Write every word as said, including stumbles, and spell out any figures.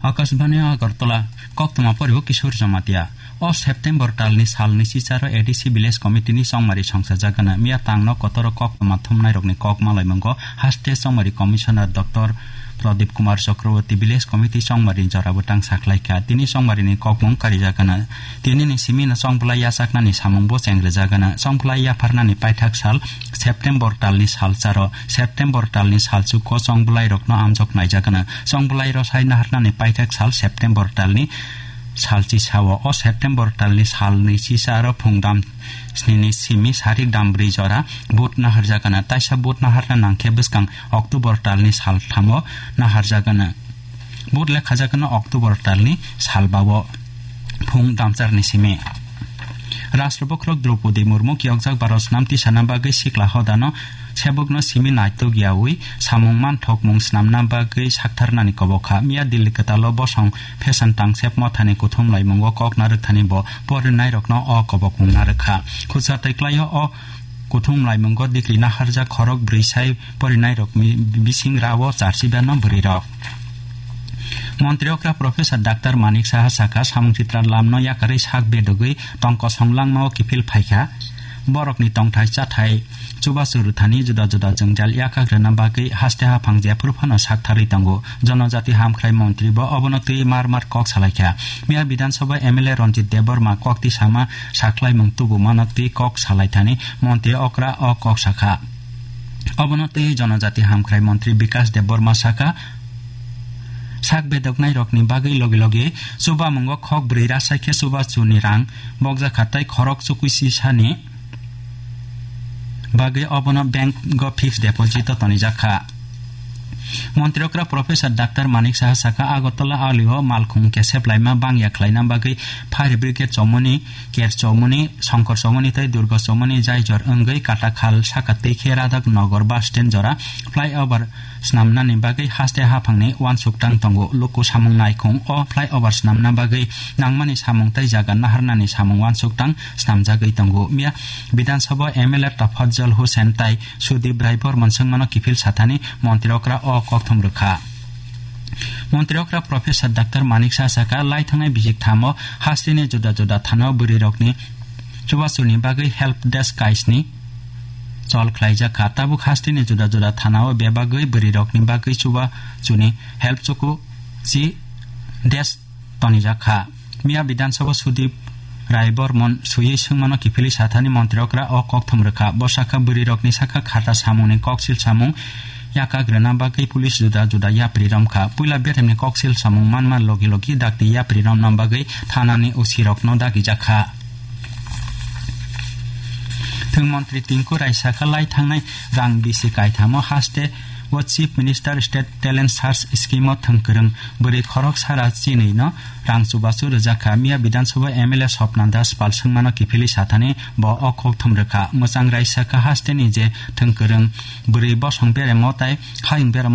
Akashbani Agartala, koktwma poribo Kishore Jamatia. O September talni salni sicharo A D C Village Committee ni chongmari songsa jagana. Miya tangno kotoro koktwma thumnairokni kok malaimungo haste chongmari Commissioner Doctor Pradip Kumar Chakraborty Village Committee chongmari jorabo tang saklaikha. Tini chongmarini kokmung karijakana. Tinini simino chongbolai yachaknani samungbo chengrijagana. Chongbolai yapharnani paithak sal September talni salcharo, September talni salchuko chongbolai rokno amjok naijakana. Chongbolai rosai naharnani paithak sal September talni salchi sao. O September talni salni sisa aro phungdam snini simi sarik dam bri jora vote naharjakana. Taisa vote naharna nangkhe bwskang October talni salthamo naharjakana. Vote lekhajakana October talni salbao phung damcharni simi. Rashtra bokhorok Draupadi Murmu kiyokjak Bharat snam tisana bagwi sikla hodano sebokno simi naitok yaui samung manthokmung snamna bagwi saktharnani kobokha. Miya Delhi kwtalo bosong Phesan tangsep mothani kuthum laimungo kok narwkthani bo porinairokno o kobokmung narwkha. Khutsa tei klaio o kuthum laimungo dikri naharjak khorok bwrwi sai porinairok mi-, bising rao charsi bano bwrwirok. Montri okra Professor Doctor Manik Saha saka samung chitra lamno yakarwi sak bedogwi tongko songlangmao kiphil phaikha. Borokni tongthai chathai chubachu rwthani juda juda jwngjal yakakrwna bagwi haste haphang jephuru phano saktharwi tongo. Jonojati hamkhrai montri bo obono twi mar mar kok salaikha. Miya Bidhan Sabha M L A Ranjit Debbarma kok tisama saklaimung tubumano twi kok salaithani montri okra o kok sakha. Obono twi Jonojati hamkhrai montri Bikas Debbarma saka, sak bedoknairokni bagwi logi logi chubamungo khok bwrwi rasaikhe chubachuni rang bokjakha tei khorok chukui sisani bagwi obono bank o fixed deposit o tonijak kha. Montri okra Professor Doctor Manik Saha saka, Agartala alio malkhung kesep laima bangya khlaina bagwi fire brigade chomoni, Ker chomoni, Songkor chomoni tei Durga chomoni jaijor wngwi Katakhal saka tei khe Radhak Nogor bus stand jora flyover snamnani bagwi haste haphangni uansuk tang tongo. Luku samung naikhung o flyover snamna bagwi nangmani samung tei jaga naharnani samung uansuk tang snamjagwi tongo. Miya Bidhan Sabha M L A Tafajjal Hussain tai Sudip Rai Bormon swngmano kiphil sathani montri okra o kokthum rwkha. Montri okra Professor Doctor Manik Saha saka, lai thangnai bijik thamo hasteni juda juda thana o bwrwirokni chubachuni bagwi help desk kaisni chol khlaijak kha. Tabuk hasteni juda juda thana o bebagwi bwrwirokni bagwi chubachuni help chuku chi desk tonijak kha. Miya Bidhan Sabha Sudip Rai Bormon swiwi swngmano kiphilwi sathani montri okra o kokthum rwkha. Bo sakha bwrwirokni sakha khata samungni koksil samung yakagrwna bagwi police juda juda yapri romkha. Puila beremni koksil samung manma logi logi dakti yapri romna bagwi thanani O C rokno dagijakha. Thwng montri Tinku Rai sakha lai thangnai rang bisi kaithamo haste o Chief Minister State Talent Search Scheme o thwng kwrwng bwrwi khorok sara chinwi no rang chubachu rwjak kha. Miya Bidhan Sabha M L A Swapna Das Pal swngmano kiphilwi sathani bo o kokthum rwkha. Mwchang Rai sakha hasteni je thwng kwrwng bwrwi bosong beremo tai hayung beremo